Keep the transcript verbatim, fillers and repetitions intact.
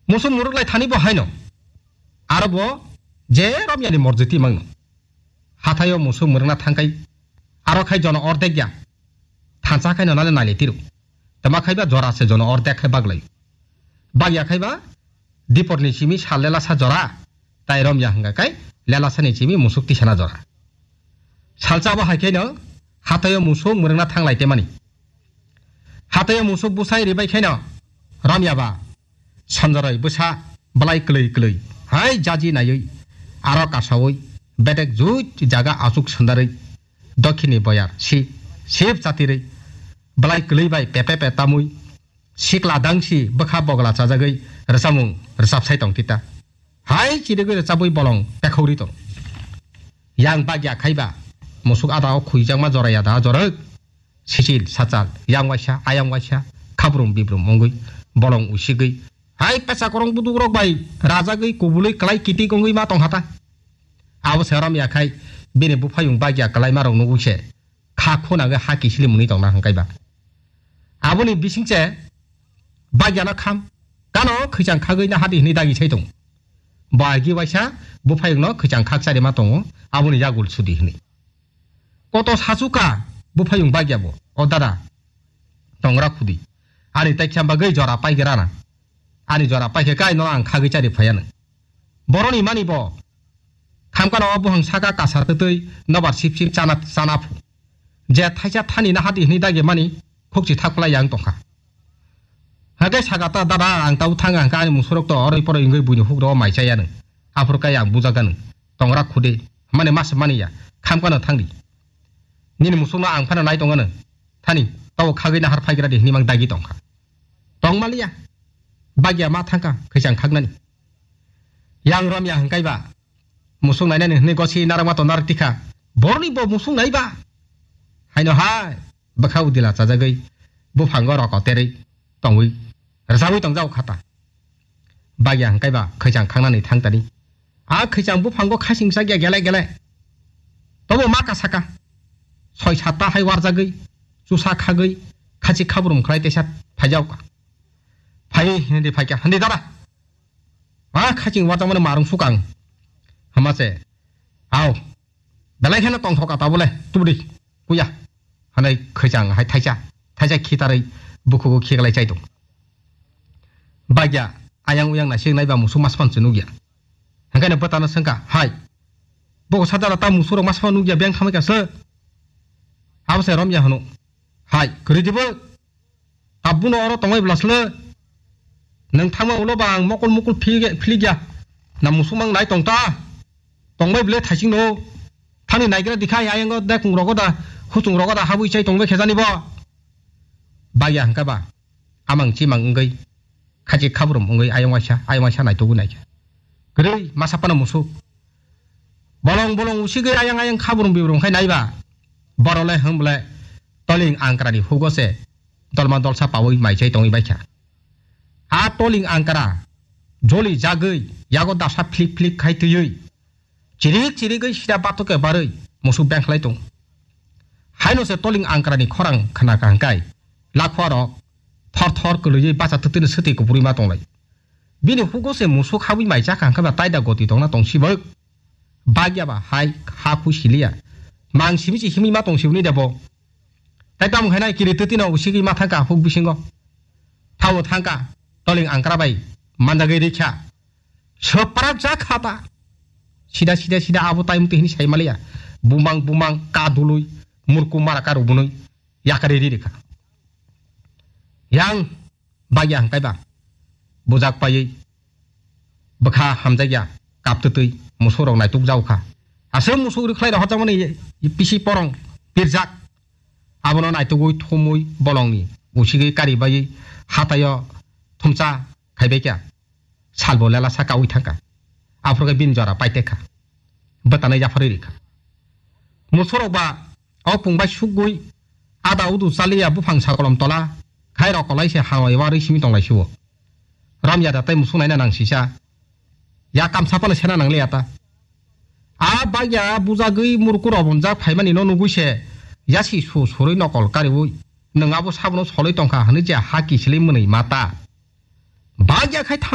Musuk mwrwk lai thani bo haino. Aro bo je romyani morjiti mangno. Hathaio musuk mwrwkna thangkai aro khai jono ordek ya. Thansa khaino nale nali tiru. Tama khaiba jora se jono ordek khai baglai. Bagya khaiba diporni simi sal lela sa jora. Tai romya hwnga kai lela sani simi musuk tisana jora. Salsa bo hai khaino hathaio musuk mwrwkna thanglai temani. Hathaio musuk busai ribai khaino romya ba Sanjarai bwsa belai kwlwi kwlwi hai jaji naiwi aro kasawi bedek juj jaga achuk sandarwi dokhini boyar si sip chatirwi belai kwlwi bai pepe pe tamwi sikla dangsi bwkha bogla chajagwi rwchapmung rwchapsai tong tita. Hai chirigwi rwchapwi bolong pekhauri tong. Yang bagya khaiba musuk ada o khuijakma joraya da jorok. Sichil, sachal, yang waisa, ayang waisa, khabrum bibrum wngwi, bolong usigwi. Hai pecha korong buduk rok bai rajagwi kubului kwlai kitik wngwi ma tong hata. Abo se rom ya khai bini buphayung bagya kwlai ma rok nugwi se kha khuna gwi ha kisili mwnwi tong na hwnkhe ba. Aboni bising se bagya no kham kano khwichang khagwi na hadi hwnwi dagi sai tong. Bo agi waisa buphayung no khwichang khak chari ma tongo aboni yagul sudi hwnwi. Koto sachuka buphayung bagya bo. O dada, tongra khudi. Ani taikha bagwi jora paigra na. Ani jora paikhe kai no ang khagwi chari phaya nang. Boroni mani bo. Khamkano o buhang saka kasar twtwi nobar sip sip chana, chana phu. Je thaisa thani na hadi hwnwi dagi mani khukchi thakphlai yang tongkha. Hake saka ta dada ang tau thang ang ka ani musurok to oroi poroi wngwi buini hukro mai chaya nang. Aphur kai ang bujaga nang. Tongra khudi. Mane mas mani ya. Khamkano thangdi. Nini musukno ang phano nai tongano. Thani, tabo khagwi nahar phaigra di hwnwi mang dagi tongkha. Tong maliya. Bagya ma thangkha, khwichang khaknani. Yang romya hwnkaiba. Musuk nainani hwnwi gosi narwkma to narwk tikha. Borni bo musuk naiba. Haino hai, bwkha udila chajagwi, buphango roko terwi tongwi, rwchapwi tongjago khata. Bagya hwnkaiba khwichang khangnani thangtani. A khwichang buphango khasing chakya gele gele. Tobo ma kasaka. Soi satta hai warjagwi, chusa khagwi, khachi khabrum khlai teisa phaijaoka. Phai hindi phaikya, hindi dada. Ma khaching warjakmani marung sukang. Hama se. Ao. Belai kheno tongthoka tabole. Tubudi. Kuya. Hanai khwichang hai thaisa. Thaisa khitarwi bukhugo khiklai chai tong. Bagya ayang uyang naisik naiba musuk masman se nukya. Hangkhe bwtano swngkha, hai. Boko sajala ta musurok masman nukya beng thamai kha se. Abo se romya hwno. Hai, kwrwi dibo. Abuno oro tongbai bwlasle. Nwng thangma ulo ba ang mokol mokol phili-, philikya. Na musuk mang nai tong ta. Tongbai bwle thaising no. Thani naigra dikhai ayango da kung rogo da, huchung rogo da habwi chai tongbai khejani bo. Bagya hwnkha ba. Amang chimang wngwi. Khachi khabrum wngwi ayang waisa, ayang waisa naitugwi naikha. Kwrwi masa phano musuk. Bolong bolong usigwi ayang ayang khabrum bibrum khai naiba. Borole hwnble toling angkrani hugo se dolma dolsa pawi maichai tongwi baikha. A toling angkra joli jagwi yago dasa phlik phlik khai twiwi chirik chirigwi sida batoke barwi musuk bengkhlai tong. Haino se toling angkrani khorang khnakha hwnkhe lakhuarok thor thor kwlwiwi bacha twtwino swtwi kupurwi ma tonglai. Bini hugo se musuk habwi mai chakha hwnkhe ba taida goti tongna tong sibok. Bagya ba hai ha khu siliya. Mang simi se himwi ma tong siboni debo. Tai tamo khaina kiri twtwino usigwi ma thangkha huk bisingo. Thawo thangkha toling angkra bai mandagwi rikha. Swprak ja khata. Sida sida sida abo tai muti hini sai maliya. Bumang bumang ka dului murku mara ka rubunui yakari ri rikha. Yang bagya hwnkhe ba bujak paiwi bwkha hamjakya kaptwtwi musurok naituk jaokha. Aswk musuk rwkhlai rok hotjakmani pisi porong pirjak. Abono naitugwi thumwi bolongni usigwi karibaiwi hataio thumsa khaibaikha. Salbo lela saka ui thangkha. Aphuru khe bini jora paitekha. Bwtanai yapharwi rikha. Musurok ba o pung bai sukgwi ada udu chaliya buphang sakolom tola khai rok kolai se hangoi warwi simi tonglai sio. Ramya da tai musuk naina nang sisa. Ya kamsa phano sena nang liya ta. A bagya bujagwi murku robonjak phaimani no nugwi se yasi su surwi nokol kariwi nwng abo sabono solwi tongkha hwnwi je ha kisilwi mwnwi mata. Bagya khai tham